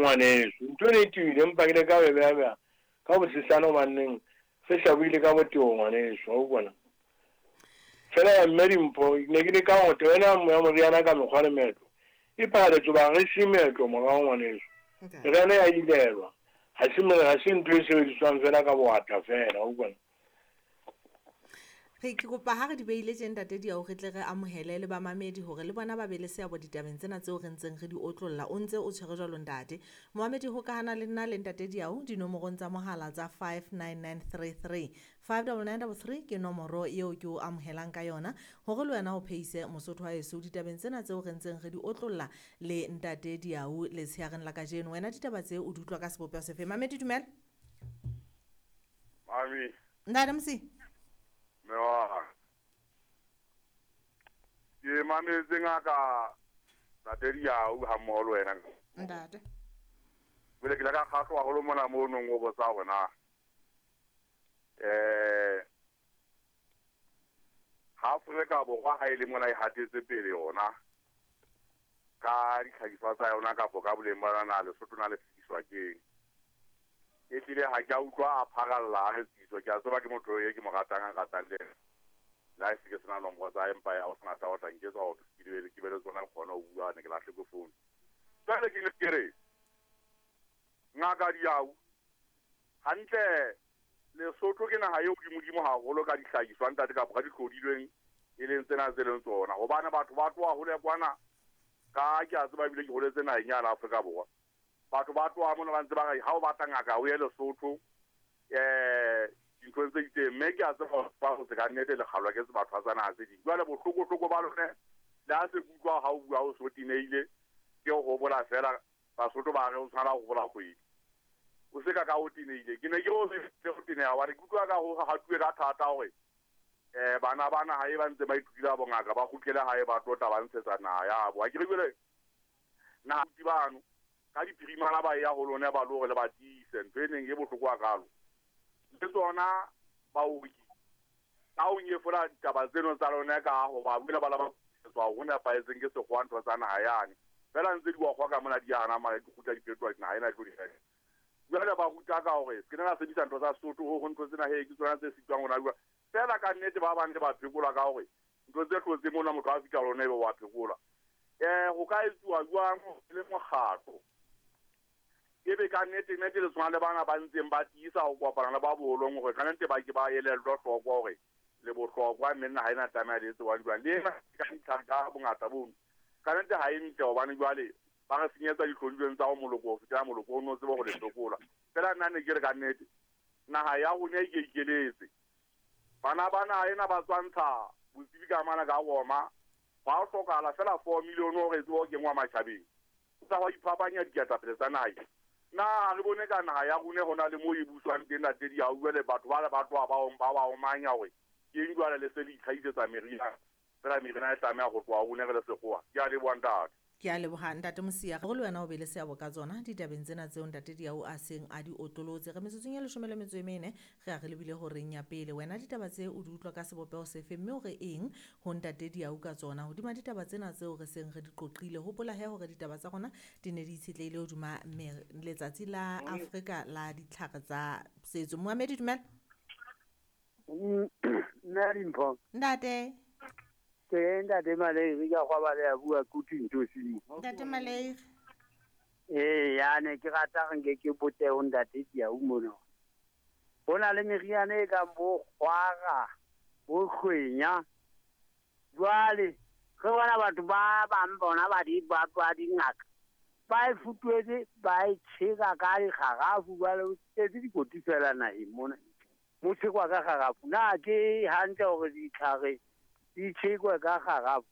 Ngwaneso. Ntho ena e tiile, empa ke leka ho e beha-beha ka bosesane hobaneng re hlabohile ka botebo ngwaneso, wa utlwa na? Fela ya mme Dimpho, ne ke leka hore taba ena ya moriana ka mekgwa le meetlo e phahaletse hoba re se meetlo morao ngwaneso. Meriana ya ilelwa, ha se ha se ntho e sebediswang fela ka bowatla fela, wa utlwa na? Re ke kopa ha re di behile tje ntate Diau re tle re amohele le bamamedi hore le bona ba be le seabo ditabeng tsena tseo re ntseng re di otlolla. O ntse o tshwere jwalo ntate. Momamedi hokahana le nna le ntate Diau dinomorong tsa mohala tsa 59933. 59933 ke nomoro eo ke o amohelang ka yona hore le wena o phehise Mosotho wa heso ditabeng tsena tseo re ntseng re di otlolla le ntate Diau letsheareng la kajeno. Wena ditaba tse o di utlwa ka sebopeho sefe? Mamedi dumela. Mami. Ntate Mosi. Mme wa ka. Ke mametse ngaka Ntate Diau ha mmoho le wena. Ntate. Jwale ke ile ka kgahlwa haholo mona mo nong o botsa hore na eh ha Afrika Borwa ha e le mona e hatetse pele yona ka ditlhahiswa tsa yona kapo ka boleng ba yona na Lesotho na le fetiswa keng. Ehlile ha ke a utlwa a pharalla a re Tšitso, ke a tseba ke motho e ke mo ratang a nratang le ena. Le ha e se ke sena nomoro tsa hae empa ya ho sena taba o tla nketsa hore ke be ke be le tsona ke kgone ho bua ne ke lahletswe founu. Jwale ke ne ke re Ngaka Diau, hantle Lesotho ke naha e hodimodimo haholo ka dihlahiswa ntate kapa ka dihlodilweng e leng tsena tse leng tsona hobane batho ba tloha hole kwana ka ke a tseba ebile ke holetse naheng yana Afrika Borwa. Batho ba tloha mona ba ntse ba re ha o batla ngaka o ye Lesotho um dinthong tse itseng mme ke a tseba hore ba hotse ka nnete le kgalwa ke batho tsa naha tse ding. Jwale bohlokohloko ba lone le ha se ke utlwa ha o bua o so tenehile ke ho hopola fela Basotho ba re o tshwana ho hopola kgwedi. O se ka ka o tenehile. Ke ne ke re o se o teneha hobane ke utlwa ka ho hatuwe ka thata hore um bana ba naha e ba ntse ba ithutile bongaka ba kgutlele hae ba tlo tla ba ntshetsa naha ya bo. Ha ke re jwale naha bano ka diphirimana ba ya ho lona ba lo hore le ba tiise ntho e neng e bohloko hakalo. Le tsona baoki ka ho nyefola ditaba tseno tsa lona ka ho ba buela ba la ba tswa ho nepahetseng ke sekgowa ntho tsa naha yane. Fela ntse di wa kgwa ka mona di hana mara di kgutla di fetoha naha ena e tlo di reka. Jwale ba ruta ka hore se ke la sebedisa ntho tsa Sesotho ho ntho tsena he ke tsona tse sitwang hona jwale. Fela ka nnete ba bang le ba phekolwa ka hore ntho tse hlotseng mona motho a fihla lona ebe wa phekolwa. Ho ka etsuwa jwang le mokgatlo ebe ka nnete nnete le tshwana le bana ba ntseng ba tiisa ho kopana le ba boholong hore ka nnete ba ke ba elellwe hloko hore le bohlokwa mme naha ena tlameha le etse jwang jwang. Le ena ka ditlhare ka bongata bono ka nnete ha e ntle hobane jwale ba re senyetsa dihlodilweng tsa ho moloko ho fetela moloko o no tsebe ho le hlokola. Fela nna ne ke re ka nnete naha ya rona e ke ikeletse. Bana ba naha ena ba tswantsha botsebi ka mana ka Roma. Hwa hlokahala fela 4 million hore e tsebe ho kenngwa matjhabeng. O tla hwa iphapanya diketapele tsa naha. Na ha re bone ka naha ya rona ho na le moo e buswang teng ntate Diau jwale batho ba ba tloha ba ba ba omanya hore ke eng jwale le se le itlhahisetsa meriana. Fela meriana e tlameha ho tloha rona re le sekgowa. Ke a leboha ntate. Ke a leboha ntate Mosia. Hore le wena o be le seabo ka tsona ditabeng tsena tseo ntate Diau a seng a di otlolotse. Re metsotsong e 14 re a re lebile horeng ya pele. Wena ditaba tse o di utlwa ka sebopeho sefe mme o re eng ho ntate Diau ka tsona? Hodima ditaba tsena tseo re seng re di qoqile. Hopola he hore ditaba tsa rona di ne di itshetlehile hodima letsatsi la Afrika la ditlhare tsa setso. Moamedi dumela. Nna Dimpho. Ntate. Ke ntate Maleiri ka gwa ba le ya bua kutu ntho simo. Ntate Maleiri. Eh ya ne ke rata re nke ke bote ho ntate Diau mono. Ho na le meriana e kang bo kgwara, bo kgwenya. Jwale re bona batho ba bang bona ba di ba ba dingaka. Ba e futuetse ba e tjheka ka dikgarafu jwale o tletse dikoti fela naheng mona. Mo tshekwa ka kgarafu. Na ke hantle hore ditlhare di tjhekwe ka kgarafu?